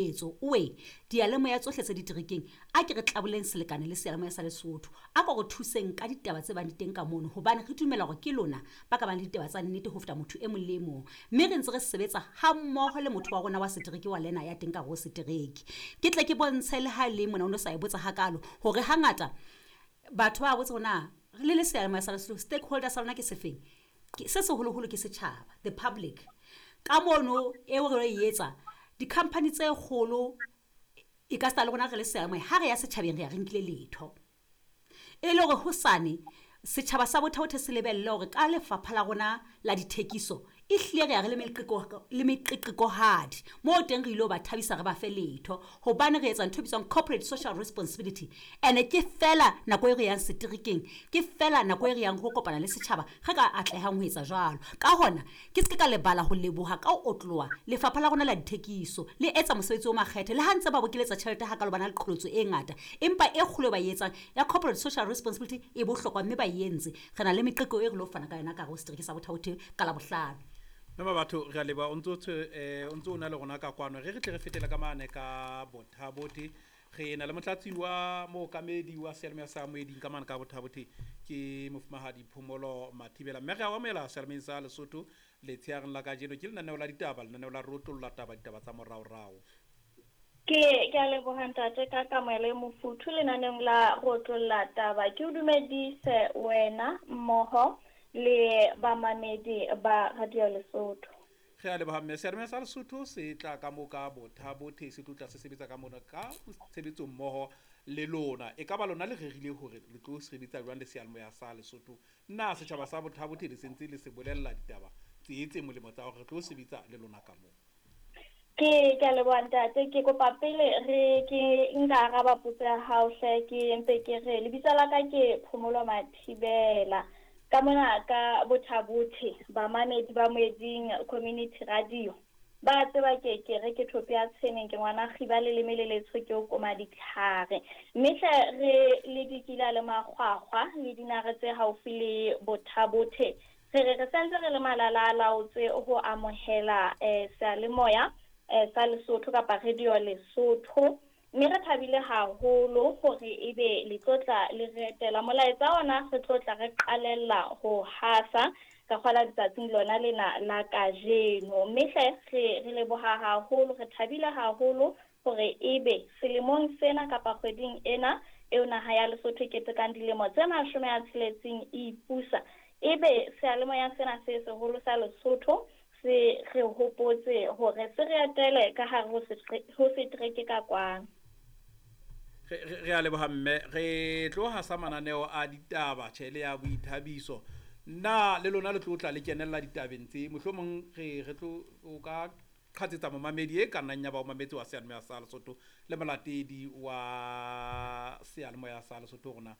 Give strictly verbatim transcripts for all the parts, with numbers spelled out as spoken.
Etso owe diyalemoya tsohle tse diterekeng, a ke re tlaboleng selekane le seyalemoya sa Lesotho. A ko re thuseng ka ditaba tse bang di teng ka mono, hobane re dumela hore ke lona ba ka bang le ditaba tsa nnete ho feta motho e mong le e mong. Mme re ntse re sebetsa ha mmoho le motho wa rona wa setereke wa lena ya teng ka hare ho setereke. Ke tle ke bontshe le ha le mona o no sa e botsa hakalo hore hangata batho ba botsa hore na le le seyalemoya sa Lesotho stakeholder sa lona ke sefeng. Se seholoholo ke setjhaba, the public. Ka mono eo re e etsa di-company tse kgolo e ka sita le rona re le seyalemoya ha re ya setjhabeng re ya re nkile letho. E le hore hosane setjhaba sa Botha se lebelle hore ka lefapha la rona la dithekiso e hlile re ya re le meqeqeko le meqeqekohadi moo teng re ilo ba thabisa re ba fe letho hobane re etsa ntho e bitswang corporate social responsibility. Ene ke fela nako e re yang seterekeng, ke fela nako e re yang ho kopana le setjhaba re ka atlehang ho etsa jwalo. Ka hona ke se ke ka lebala ho leboha ka ho otloha lefapha la rona la dithekiso le etsa mosebetsi o makgethe le ha ntse ba bokeletsa tjhelete hakalo ba na le qholotso e ngata, empa e kgolo e ba e etsang ya corporate social responsibility e bohlokwa mme ba e entse. Re na le meqeqeko e re lo fana ka yona ka hare ho setereke sa Botha ka Labohlano. Mme batho re a leboha o ntso eh o ntso o na le rona ka kwano. Re re tle re fetele ka mane ka Botha-Bothe. Re na le motlatsi wa mookamedi wa seyalemoya sa Moeding ka mane ka Botha-Bothe ke mofumahadi Phomolo Mathibela. Mme re a o amohela seyalemoyeng sa Lesotho letsheareng la kajeno. Ke lenaneo la ditaba, lenaneo la rotlolla taba, ditaba tsa moraorao. Ke ke a leboha ntate ka kamohelo e mofuthu lenaneong la rotlolla taba. Ke o dumedise wena mmoho le bamamedi ba Radio Lesotho. Re a leboha mme. Seyalemoya sa Lesotho se tla ka mo ka Botha-Bothe, se tlotla se sebetsa ka mona ka tshebetso mmoho le lona. E ka ba lona le rerile hore le tlo sebetsa jwang le seyalemoya sa Lesotho? Na setjhaba sa Botha-Bothe le sentse le se bolella ditaba tse tse molemo tsa hore re tlo sebetsa le lona ka moo? Ke ke a leboha ntate. Ke kopa pele re ke nka araba potso ya hao hle, ke mpe ke re lebitso la ka ke Phomolo Mathibela. Ka mona ka Botha-Bothe bamamedi ba Moeding Community Radio ba tseba ke ke re ke thope ya tshweneng, ke ngwana kgiba le leme le letsho ke o koma ditlhare. Mme hle re le dikila le makgwakgwa le dinare tse haufi le Botha-Bothe, re re re santse re le malala a laotse ho amohela eh seyalemoya eh sa Lesotho kapa Radio Lesotho. Mme re thabile haholo hore ebe le tlotla le re etela. Molaetsa ona re tlotla re qalella ho hasa ka kgola letsatsing lona lena la kajeno. Mme hle re re leboha haholo, re thabile haholo hore ebe selemong sena kapa kgweding ena eo naha ya Lesotho e ketekang dilemo tse mashome a tsheletseng e ipusa, ebe seyalemoya sena se seholo sa Lesotho se re hopotse hore se re etele ka hare ho setereke ka kwano. Re a leboha mme. Re tlo hasa mananeo a ditaba tjhe le ya boithabiso. Na le lona le tlo tla le kenella ditabeng tse mohlomong re re tlo o ka qhatsetsa momamedi e ka nnang ya ba o mametse wa seyalemoya sa Lesotho le molatedi wa seyalemoya sa Lesotho rona.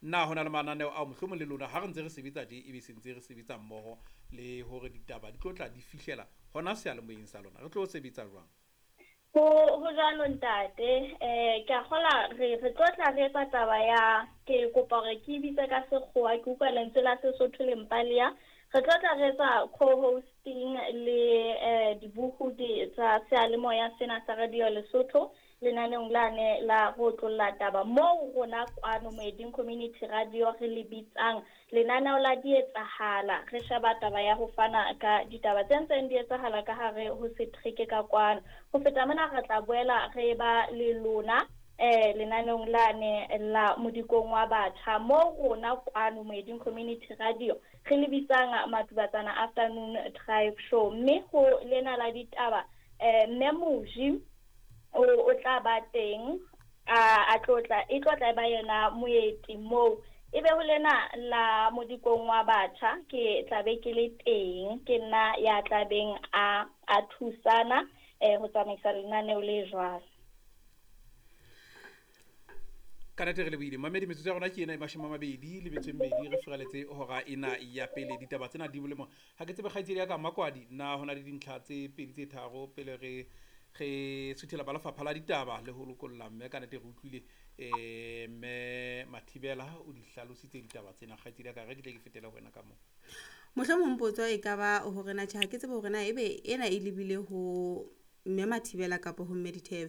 Na hona le mananeo ao mohlomong le lona ha re ntse re sebetsa tje ebe se ntse re sebetsa mmoho le hore ditaba di tlo tla di fihlela hona seyalemoyeng sa lona. Re tlo sebetsa jwang? Ho ho jwalo ntate. Eh ke a kgola re re tlotla re etsa taba ya ke kopa hore ke bitse ka sekgowa, ke utlwa lentswe la Sesotho le mpaleha. Re tlotla re etsa co-hosting le eh dibohodi tsa seyalemoya sena sa Radio Lesotho lenaneong lane la rotlolla taba moo rona kwano Moeding Community Radio re le bitsang lenaneo la dietsahala. Re sheba taba ya ho fana ka ditaba tse ntseng di etsahala ka hare ho setereke ka kwano. Ho feta mona re tla boela re ba le lona eh lenaneong lane la modikong wa batjha moo rona kwano Moeding Community Radio re le bitsang Matubatsana Afternoon Drive Show. Mme ho lena la ditaba eh Mme Moji o o tla ba teng a a tlotla e tlotla ba yena moeti moo. Ebe ho lena la modikong wa batjha ke tla be ke le teng, ke nna ya tlabeng a a thusana eh ho tsamaisa lenaneo le jwalo. Ka nnete re lebohile mamedi. Metsotso ya rona ke ena e mashome a mabedi le metso e mmedi. Re furaletse hora ena ya pele. Ditaba tsena di molemo. Ha ke tsebe kgaitsedi ya ka Makwadi, na hona le dintlha tse pedi tse tharo pele re re suthela ba lefapha la ditaba le ho lokolla mme? Ka nnete re utlwile eh mme Mathibela o di hlalositse ditaba tsena. Kgaitsedi ya ka, re ke tle ke fetele ho wena ka moo. Mohlomong potso e ka ba hore na tjhe ha ke tsebe hore na ebe ena e lebile ho mme Mathibela kapa ho mme Dithebe.